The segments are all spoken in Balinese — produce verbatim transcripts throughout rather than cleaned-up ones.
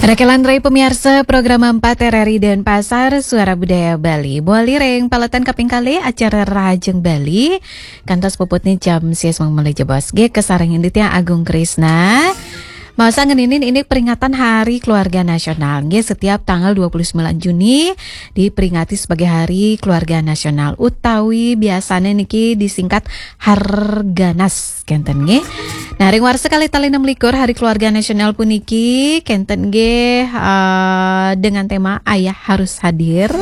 Rekelan rai pemiarsa program empat R R I Denpasar, Suara Budaya Bali. Bali ring paletan kaping kalih acara Rahajeng Bali. Kantos puputne jam sias mangmele jebos. Nggih, kasarengin titiang Agung Krisna. Maos ngeninin ini peringatan Hari Keluarga Nasional. Nggih, setiap tanggal dua puluh sembilan Juni diperingati sebagai Hari Keluarga Nasional utawi biasane niki disingkat Harganas, kenten nggih. Nah, ring warsa kalih tali enam likur Hari Keluarga Nasional puniki kenten nggih, eh, dengan tema Ayah Harus Hadir.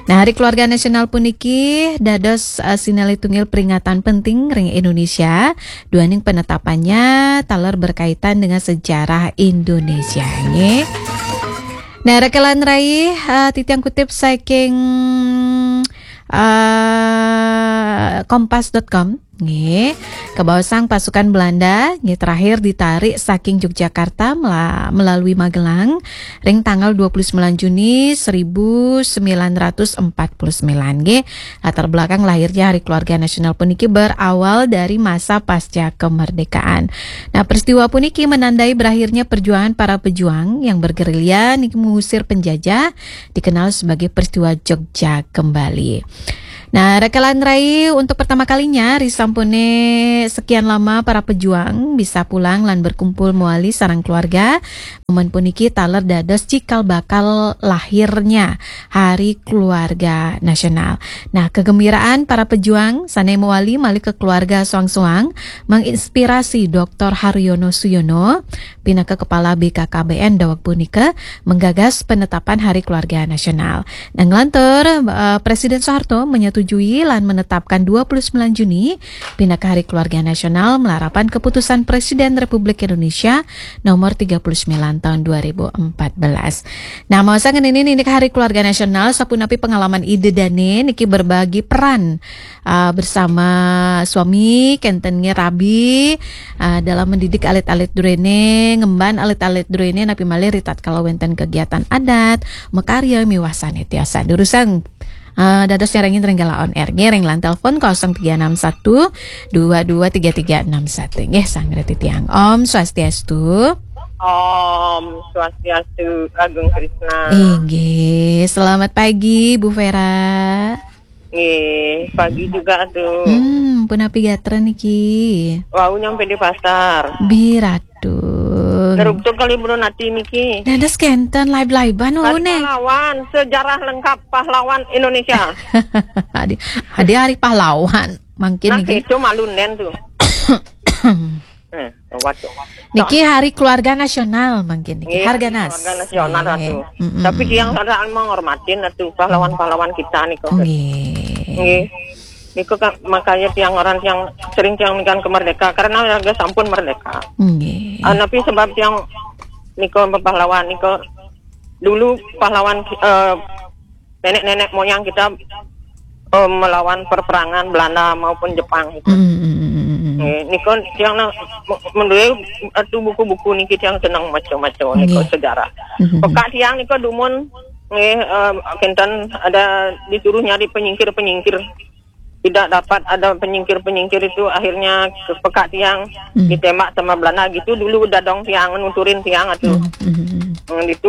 Nah, Hari Keluarga Nasional puniki dados, eh, sinalih tunggil peringatan penting ring Indonesia, duaning penetapannya taler berkaitan dengan sejarah Indonesia nggih. Nah, rekelan rai, eh, titiang kutip saking, eh, kompas dot com. Nggih, kabaosang pasukan Belanda nggih terakhir ditarik saking Yogyakarta mela-, melalui Magelang ring tanggal dua puluh sembilan Juni seribu sembilan ratus empat puluh sembilan nggih. Latar belakang lahirnya Hari Keluarga Nasional puniki berawal dari masa pasca kemerdekaan. Nah, peristiwa puniki menandai berakhirnya perjuangan para pejuang yang bergerilya niki mengusir penjajah, dikenal sebagai peristiwa Jogja Kembali. Nah, rekelan rai untuk pertama kalinya, risampune sekian lama para pejuang bisa pulang lan berkumpul mewali sareng keluarga. Momen puniki taler dados cikal bakal lahirnya Hari Keluarga Nasional. Nah, kegembiraan para pejuang sane mewali malih ke keluarga soang-soang menginspirasi Doktor Haryono Suyono pinaka kepala B K K B N daweg punika menggagas penetapan Hari Keluarga Nasional. Nah, nglantur, eh, Presiden Soeharto menyetujui lan menetapkan dua puluh sembilan Juni pinaka Hari Keluarga Nasional malarapan keputusan Presiden Republik Indonesia nomor tiga puluh sembilan tahun dua ribu empat belas. Nah, maos ngeninin ini Hari Keluarga Nasional, sapunapi pengalaman Ida Dane niki berbagi peran, eh, bersama suami, kenten nggih rabi, eh, dalam mendidik alit-alit druene, ngemban alit-alit druene, napi malih ritatkala wenten kegiatan adat, makarya miwah sane tiasa. Durusang, eh, dados nyarengin ring Gala On Air nggih, ring line telepon kosong tiga enam satu dua dua tiga tiga enam satu. Nggih, sanggra titiang. Om Swastiastu. Om Swastiastu, Agung Krisna. Inggih, selamat pagi, Bu Vera. Nggih, pagi juga, Atu. Hmm, punapi gatra niki? Wau nyampe di pasar. Biratu. Neruk tu kali burun ati niki. Dados kenten live-livean, oh, Hari ne. Pahlawan, sejarah lengkap pahlawan Indonesia. Adi, adi hari pahlawan. Mangkin Nah, niki. Itu malu nen tu. Eh, waduh. Niki Hari Keluarga Nasional mangkin niki. Nggih, Harganas. Keluarga Nasional, Nggih. Atu. Mm-mm. Tapi tiang sadang menghormatin, Atu, pahlawan-pahlawan kita niku. Nggih. Nggih. Niku kan makanya tiang orang tiang sering tiang nikan ke merdeka karena warga sampun merdeka. Nggih. Ah, tapi sebab tiang niku pahlawan niku dulu pahlawan, eh, nenek-nenek moyang kita, eh, melawan perperangan Belanda maupun Jepang itu. Mm, mm, mm, mm, mm. Nggih, niku tiang na-, me-, menduwe atu buku-buku niki tiang seneng maca-maca niku Nggih. Sejarah. Mm, mm, mm. Pekak tiang niku dumun nggih, eh, kenten ada disuruh nyari penyingkir-penyingkir. Tidak dapat ada penyingkir-penyingkir itu, akhirnya ke pekak tiang Mm. ditembak sama Belanda gitu dulu dadong tiang nuturin tiang atu. Mm, mm, mm. Hmm, itu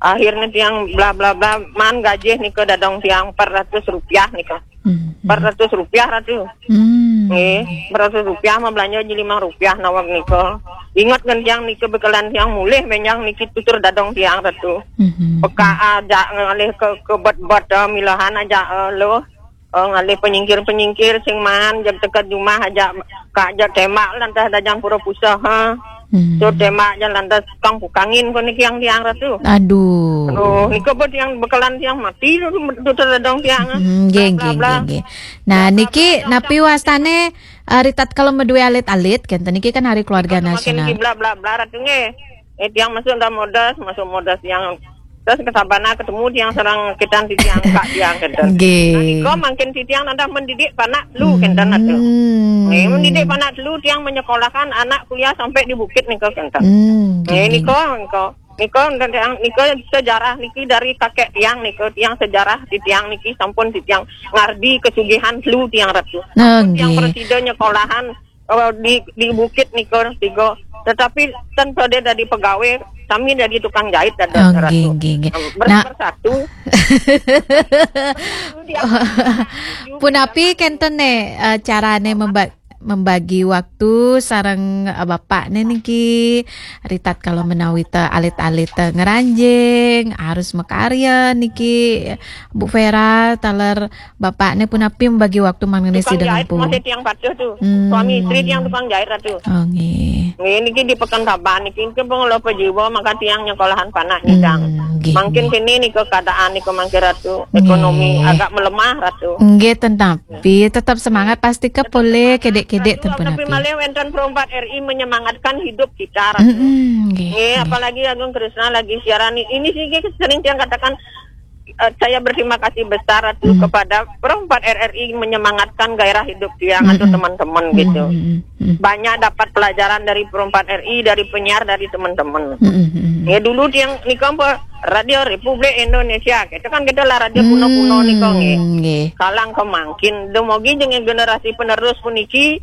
akhirnya tiang bla bla bla man gajih nika dadong tiang empat ratus rupiah nika. Hmm, hmm. Empat ratus rupiah ratu. Hmm. Nggih, empat ratus rupiah mah belanja ji lima rupiah nawak nika. Ingat ngan tiang nika bekelan tiang mulih menjang niki tutur dadong tiang ratu. Hmm, hmm. Peka aja ngalih ke, ke bet-bet, eh, milahan aja, eh, loh. Eh, ngalih penyingkir-penyingkir sing maan jag teka jumah aja ka aja tembak lantas dajang pura pusah, ha. Hmm. So tembak aja lantas kang pukangin ko niki yang tiang ratu. Aduh. Aduh, nika pun tiang bekelan tiang mati tu, tu, tu, tu, dong tiang, ah. Hmm, nggih, Bla, bla, nggih, bla. Nggih, nggih. Nah, bla, bla, niki bla, bla, napi bla. Wastane, eh, ritatkala madue alit-alit, kenten niki kan hari keluarga Makin nasional. Niki bla, bla, bla, ratu nggih. Eh, tiang masuk dalam modas, masuk modas tiang. Terus ke sabana ketemu tiang sareng kitan titiang, kak tiang, kenten. Nggih. Nah, nika makin titiang nandah mendidik panak telu, kenten, atu. Hmm. Nggih, mendidik panak telu tiang menyekolahkan anak kuliah sampai di bukit nika, kenten. Hmm, nggih, nggih. Nika, nika. Nika, nika sejarah niki dari kakek tiang nika, tiang sejarah di tiang niki sampun di tiang ngardi kesugihan telu tiang ratu. Nah, sampun tiang nggih. Presida nyekolahan, eh, di di bukit nika tiga. Tetapi ten pada dadi pegawai, sami dadi tukang jahit dadi. Oh, nggih, nggih, nggih. Ber-, nah, bersatu. Punapi kenten ne, eh, carane memba-, membagi waktu sareng, eh, bapakne niki? Ritat kalau menawi te alit-alit te ngranjing, harus makarya niki, Bu Vera, taler bapakne punapi membagi waktu mangkene? Tukang sidang jahit ampun. Masih tiang patuh tuh. Hmm. Suami istri tiang tukang jahit, Ratu. Oh, nggih. Nggih, niki di Pekan Saban niki, niki pun lo pejiwa, maka tiang nyekolahan panak nyidang. Hmm, nggih, mangkin nggih. Kini nika keadaan nika mangkir, Ratu. Ekonomi nggih. Agak melemah, Ratu. Nggih, tetapi tetap semangat, pasti ke pole kedek-kedek. Ratu, ten tapi punapi. Malih wenten Pro empat R I menyemangatkan hidup kita, Ratu. Mm-mm, nggih, nggih, nggih. Apalagi Agung Krisna lagi siaran ini, ini sih sering tiang katakan, eh, saya berterima kasih besar, Ratu, hmm, kepada Pro empat R R I menyemangatkan gairah hidup tiang atau hmm, teman-teman hmm, gitu. Hmm, hmm, hmm. Banyak dapat pelajaran dari Pro empat R I, dari penyiar, dari teman-teman. Hmm, hmm, hmm. Ya, dulu tiang nika apa, Radio Republik Indonesia, gitu kan, gitu lah, radio kuno-kuno nika, nggih. Hmm, nggih. Kalang kemangkin, dumugi jeneng generasi penerus puniki,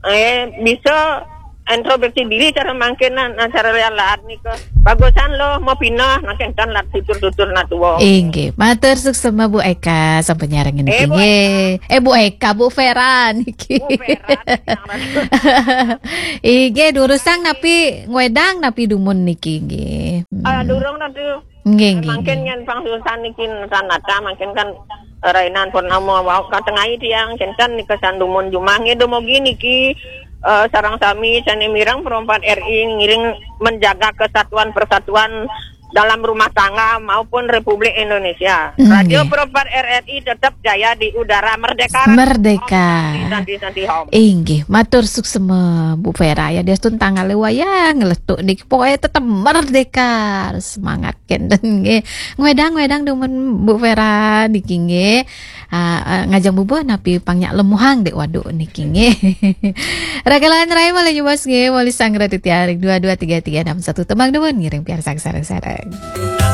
eh, bisa introspeksi diri cara mangkin, nah, cara lihat nika. Bagusan lo mau pindah, nah, kenten lat tutur-tutur nak tua. Inggih, matur suksema Bu Eka sampun nyarengin niki, eh, Bu Eka. Nggih. Eh, Bu Eka, Bu Vera niki. Bu Vera, inggih, durusang napi ngwedang napi dumun niki, nggih. Hmm. Ah, durung, Ratu. Nggih, nggih, mangkin nggih. Yen pangsusan niki sanata, mangkin kan, eh, rainan purnama wau katengai tiang, kenten nika sandumun jumah nggih, dumugi niki, eh, sareng sami sane mireng Pro empat R I ngiring menjaga kesatuan persatuan dalam rumah tangga maupun Republik Indonesia. Nggih. Radio Pro empat R R I tetap jaya di udara merdeka. Merdeka. Om Santi, Santi, Santi, Om. Inggih, matur suksema Bu Vera ya, diastun tanggale wayah ngeletuk niki pokoke tetep merdeka. Semangat kenten nggih. Ngwedang, ngwedang dumun Bu Vera niki nggih. Ah, ah, ngajeng bubuh napi pang nyak lemuhang dek waduk niki nggih. Ragalan rai malih nyebos nggih, malih sanggra titiaring dua dua tiga tiga enam satu, tembang dumun ngiring piarsang sareng-sareng.